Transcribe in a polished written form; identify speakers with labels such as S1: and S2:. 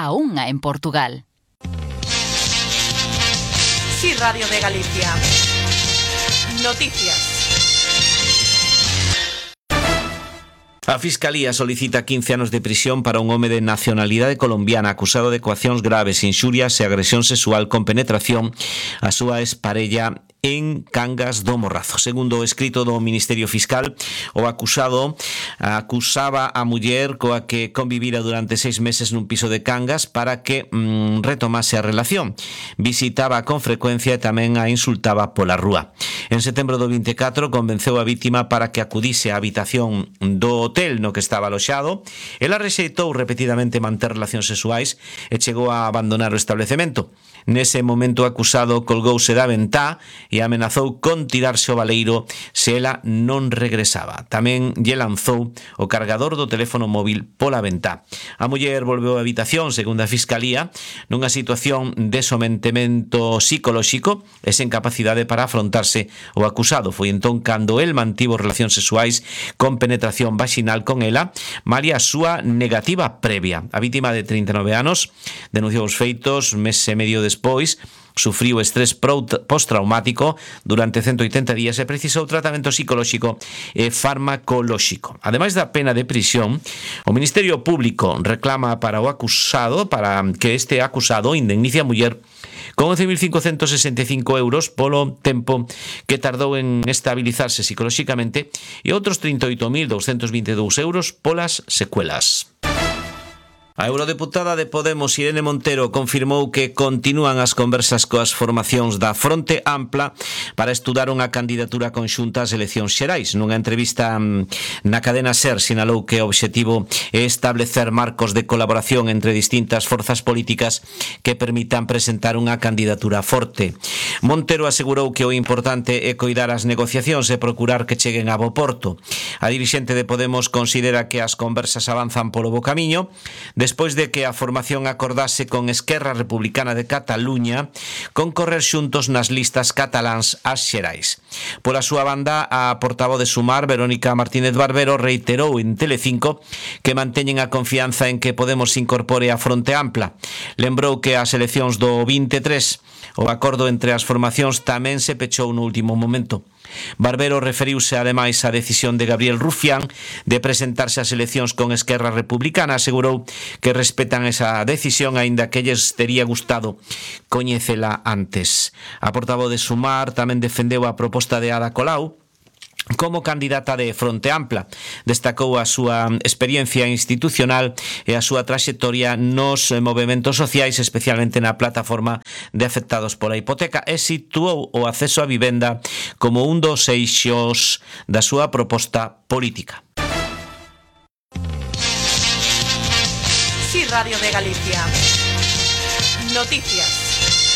S1: a unha en Portugal.
S2: Sí, Radio de Galicia. Noticias.
S3: A Fiscalía solicita 15 anos de prisión para un home de nacionalidade colombiana acusado de coaccións graves, inxurias e agresión sexual con penetración a súa exparella en Cangas do Morrazo. Segundo o escrito do Ministerio Fiscal, o acusado acusaba a muller coa que convivira durante 6 meses nun piso de Cangas para que retomase a relación. Visitaba con frecuencia e tamén a insultaba pola rúa. En setembro do 24 convenceu a vítima para que acudise á habitación do hotel no que estaba aloxado. Ela rexeitou repetidamente manter relacións sexuais e chegou a abandonar o establecemento. Nese momento o acusado colgouse da ventá e amenazou con tirarse ao baleiro se ela non regresaba. Tamén lle lanzou o cargador do teléfono móvil pola ventá. A muller volveu á habitación, segundo a Fiscalía, nunha situación de sometemento psicolóxico e sen capacidade para afrontarse o acusado. Foi entón cando el mantivo relacións sexuais con penetración vaginal con ela, malia a súa negativa previa. A vítima de 39 anos denunciou os feitos mes e medio despois, sufriu estrés postraumático durante 180 días e precisou tratamento psicolóxico e farmacolóxico. Ademais da pena de prisión, o Ministerio Público reclama para o acusado, para que este acusado indemnice a muller con 11.565 euros polo tempo que tardou en estabilizarse psicolóxicamente e outros 38.222 euros polas secuelas. A eurodeputada de Podemos, Irene Montero, confirmou que continúan as conversas coas formacións da Fronte Ampla para estudar unha candidatura conxunta ás eleccións xerais. Nunha entrevista na cadena SER sinalou que o obxectivo é establecer marcos de colaboración entre distintas forzas políticas que permitan presentar unha candidatura forte. Montero asegurou que o importante é coidar as negociacións e procurar que cheguen a bo porto. A dirixente de Podemos considera que as conversas avanzan polo bo camiño, despois de que a formación acordase con Esquerra Republicana de Cataluña concorrer xuntos nas listas cataláns ás xerais. Pola súa banda, a portavoz de Sumar, Verónica Martínez Barbero, reiterou en Telecinco que manteñen a confianza en que Podemos incorpore a Fronte Ampla. Lembrou que as eleccións do 23 o acordo entre as formacións tamén se pechou no último momento. Barbero referiuse ademais á decisión de Gabriel Rufián de presentarse ás eleccións con Esquerra Republicana. Asegurou que respetan esa decisión, aínda que lles tería gustado coñecela antes. A portavoz de Sumar tamén defendeu a proposta de Ada Colau como candidata de Fronte Ampla. Destacou a súa experiencia institucional e a súa traxectoria nos movementos sociais, especialmente na plataforma de afectados pola hipoteca, e situou o acceso á vivenda como un dos eixos da súa proposta política.
S2: Sí, Radio de Galicia. Noticias.